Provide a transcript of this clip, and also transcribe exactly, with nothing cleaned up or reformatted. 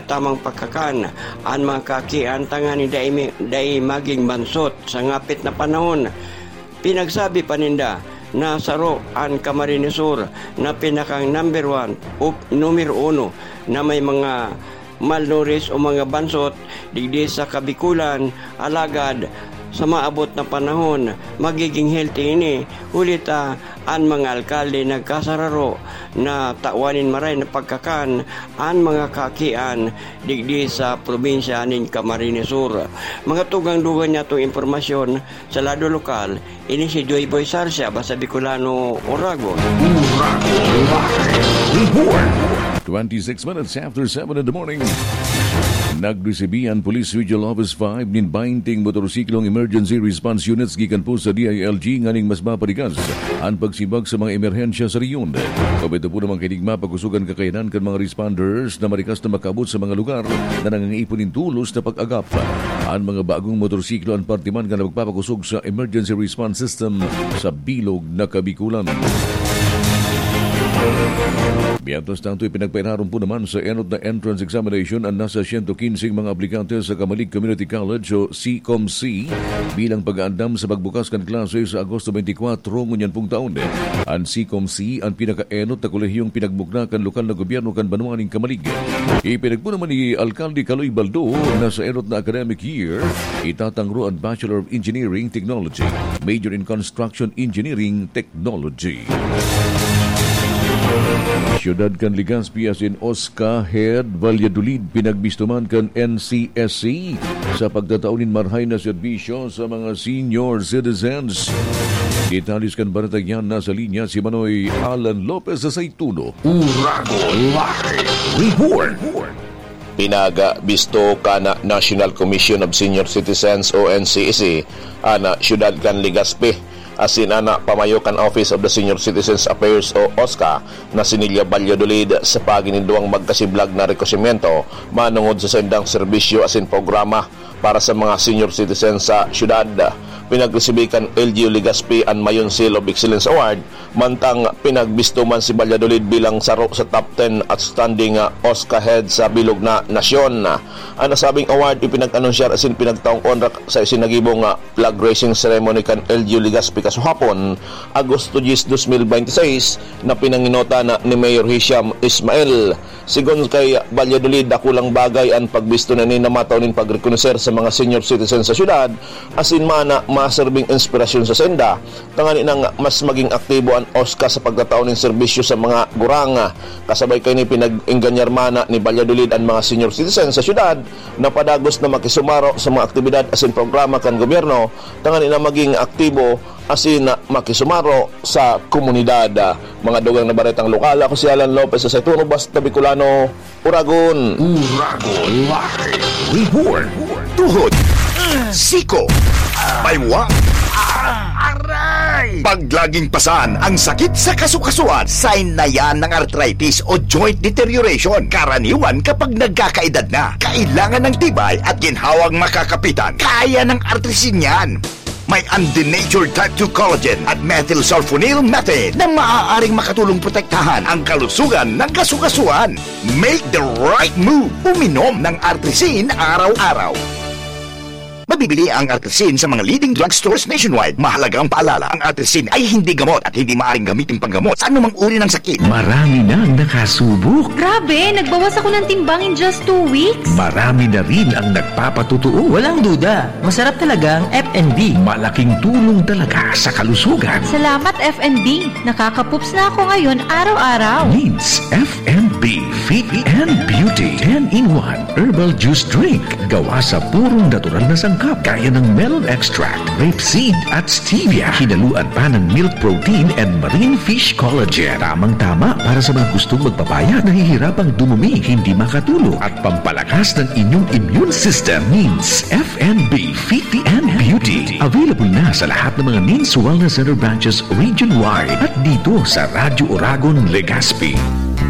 tamang pagkakan an mga kakian tanganing dai mi-, dai magin bansot sa ngapit na panahon. Pinagsabi pa ninda na saro an Camarines Sur na pinakang number one o numero uno na may mga malnourished o mga bansot digdi sa Kabikulan, alagad sa maabot na panahon, magiging healthy ini, huli ta an mga alkalde nagkasararo na tawan nin maray na pagkakan an mga kakian digdi sa probinsya nin Camarines Sur. Mga tugang-dugang niya itong impormasyon sa lado lokal, ini si Joy Boy Sarsia, basta Bicolano, Oragon. Oragon Live Report. Twenty-six minutes after seven in the morning. Nagresibi an Police Regional Office five nin bainting motorsiklong emergency response units gikan po sa D I L G nganing mas maparigas an pagsimbag sa mga emerhensya sa rehiyon. Kaupod po naman kaini, mapakusog an kakayanan kan mga responders na marikas na makaabot sa mga lugar na nangangaipo nin tulos na pag-agap. An mga bagong motorsiklo an parte man kan pagpapakusog sa emergency response system sa bilog na Kabikulan. Mientras tanto, ipinagpairarom po naman sa enot na entrance examination an nasa siyento kinseng mga aplikante sa Camalig Community College o CCOMC bilang pag-aandam sa pagbukas kan klase sa Agosto twenty-four ngunyan pong taon. An CCOMC an pinakaenot na kolehiyong pinagbukna kan lokal na gobyerno kan banwa nin Camalig. Ipinagpo naman ni Alkalde Caloy Baldo na sa enot na academic year, itatangro an Bachelor of Engineering Technology, major in Construction Engineering Technology. Siyudad kan Legazpi asin Osca Head, Valladolid, pinagbisto man kan N C S C sa pagtatao nin marahay na serbisyo sa mga senior citizens. Detalles kan baretang iyan, nasa linya si Manoy Alan Lopez sa Saituno. Oragon Live Report. Pinagbisto kan National Commission of Senior Citizens o N C S C an siyudad kan Legazpi asin an pamayo kan Office of the Senior Citizens Affairs o OSCA na si Nelia Valladolid sa paagi nin duwang magkasiblag na rekonosimyento manongod sa saindang serbisyo asin programa para sa mga senior citizens sa siyudad. Pinagresibi kan L G U Legazpi an Mayon Seal of Excellence Award, mantang pinagbisto man si Valladolid bilang saro sa top ten outstanding, ah, OSCA head sa bilog na nasyon. An nasabing award ipinag-anunsyar asin pinagtaong onra sa isinagibong, ah, flag raising ceremony kan L G U Legazpi kasuhapon, Agosto diyes, dos mil bente seis, na pinangenotan ni Mayor Hisham Ismail. Sigon kay Valladolid, dakulang bagay an pagbisto na ini na matao nin pagrekonoser sa mga senior citizen sa siyudad, asin man na maserbing inspirasyon sa sainda, tanganing mas maging aktibo an OSCA sa pagtatao nin serbisyo sa mga gurang. Kasabay kaini, pinag-ingganyar man na ni Valladolid an mga senior citizen sa siyudad na padagos na makisumaro sa mga aktibidad asin programa kan gobyerno, tanganing maging aktibo asin makisumaro sa komunidad. Mga dugang na baretang lokal, ako si Alan Lopez sa Saituno, basta Bicolano, Oragon. Oragon Live Report. Tuhod, siko, baywa, aray! Pag laging pasan ang sakit sa kasukasuan, sign na yan ng arthritis o joint deterioration. Karaniwan kapag nagkakaedad na, kailangan ng tibay at ginhawang makakapitan. Kaya ng Artrisin yan. May undenatured type two collagen at methylsulfonyl methane na maaaring makatulong protektahan ang kalusugan ng kasukasuan. Make the right move. Uminom ng Artrisin araw-araw. Mabibili ang Artrisin sa mga leading drugstores nationwide. Mahalagang paalala, ang Artrisin ay hindi gamot at hindi maaaring gamitin panggamot sa anumang uri ng sakit. Marami nang nakasubok. Grabe, nagbawas ako ng timbang in just two weeks. Marami na rin ang nagpapatotoo. Walang duda, masarap talaga ang F and B. Malaking tulong talaga sa kalusugan. Salamat, F and B. Nakakapups na ako ngayon araw-araw. Needs F and B Fit and Beauty ten-in-one Herbal Juice Drink. Gawa sa purong natural na sangkap, gaya ng melon extract, rape seed, at stevia. Hinaluan pa ng milk protein and marine fish collagen. Tamang-tama para sa mga gustong magpapayat, nahihirapang dumumi, hindi makatulog, at pampalakas ng inyong immune system. Needs F and B Fit and Beauty. Available na sa lahat ng mga Needs Wellness Center branches region-wide at dito sa Radyo Oragon, Legazpi.